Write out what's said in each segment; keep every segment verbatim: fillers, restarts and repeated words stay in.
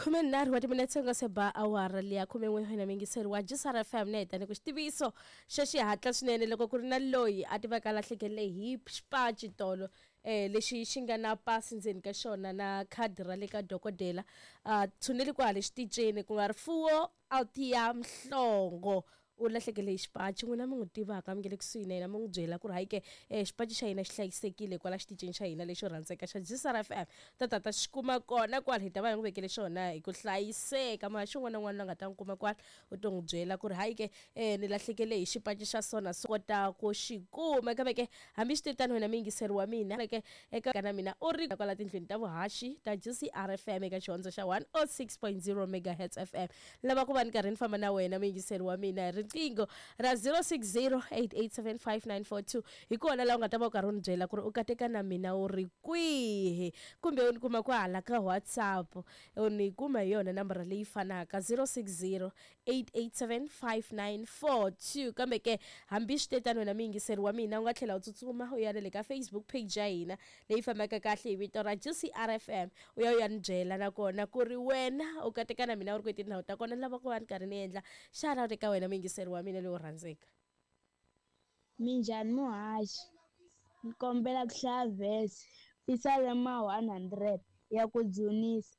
Khumenharhu wa timinetse nga se ba awara liya khumen'we wena muyingiseri wa J C R F M na hi tani ku xitiviso xa xihatla swinene loko ku ri na loyi a tivaka lahlekele hi xipaci tolo eh lexi xi nga na pasi ndzeni ka xona na khadi ra le ka dokodela a tshuneli kwale xitichini ku nga rifuwo Althea Mhlongo u lahlekele hi xipaci. N'wina mi n'wi tivaka mi nge le kusuhi na yena mi n'wi byela ku ri hayi ke eh, xipaci xa hina xi hlayisekile kwala xitichini xa hina lexo rhandzeka xa J C R F M ta ta ta xi kuma kona kwala hi ta va hi n'wi vekele xona hi ku hlayiseka. Muhaxi un'wana na un'wana loyi a nga ta n'wi kuma kwala u to n'wi byela ku ri hayi ke eh, ni lahlekele hi xipaci xa sona so kota ku xi kuma. Kambe ke hambi swi tano wena muyingiseri wa mina ke eka na mina u ri kwala tindlwini ta vuhaxi ta J C R F M eka xihondzo xa one oh six point zero megahertz F M. Lava ku va ni karhi ni famba na wena muyingiseri wa mina hi riqingho ra zero six zero eight eight seven five nine four two hi kona laha u nga ta va u karhi u ni byela ku ri u kateka na mina u ri kwihi kumbe u ni kuma kwahala ka WhatsApp u ni kuma hi yona nambara leyi fanaka zero six zero eight eight seven five nine four two. Kambe ke hambi swi te tano wena muyingiseri wa mina u nga tlhela u tsutsuma u ya na le ka Facebook page ya hina leyi fambaka kahle hi vito ra J C R F M u ya u ya ni byela nakona ku ri wena u kateka na mina u ri kwihi tindhawu ta kona. Ni lava ku va ni karhi ni endla shout out eka wena muyingiseri wa mina lowu rhandzeka. Minjhani muhaxi, ni kombela ku hlaya verse Pisalema one hundred ya ku dzunisa.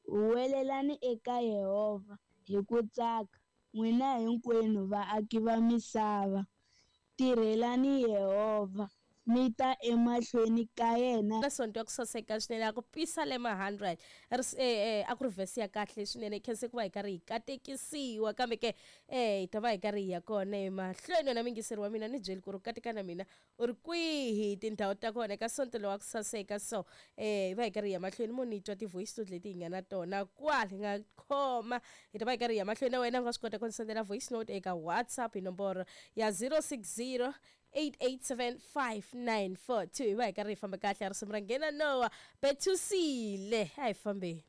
Huwelelani eka Yehovha hi ku tsaka, n'wina hinkwenu vaaki va misava. Tirhelani Yehovha, mi ta emahlweni ka yena. Na sonto ya ku saseka swinene a ku Pisalema hundred eh, a ku ri verse ya kahle swinene khense ku va hi karhi hi katekisiwa. Kambe ke eh hi ta va hi karhi hi ya kona emahlweni. Wena muyingiseri wa mina ni byeli ku ri u kateka na mina u ri kwihi tindhawu ta kona eka sonto lowa ku saseka. So eh hi va hi karhi hi ya mahlweni mo ni twa ti-voice note leti hi nga na tona kwala hi nga khoma. Hi ta va hi karhi hi ya mahlweni na wena u nga swi kota ku ni sendela voice note eka WhatsApp hi nomboro ya zero six zero eight eight seven five nine four two. Hi va hi karhi hi famba kahle risimu ra nghena Noah Betusile a hi fambeni.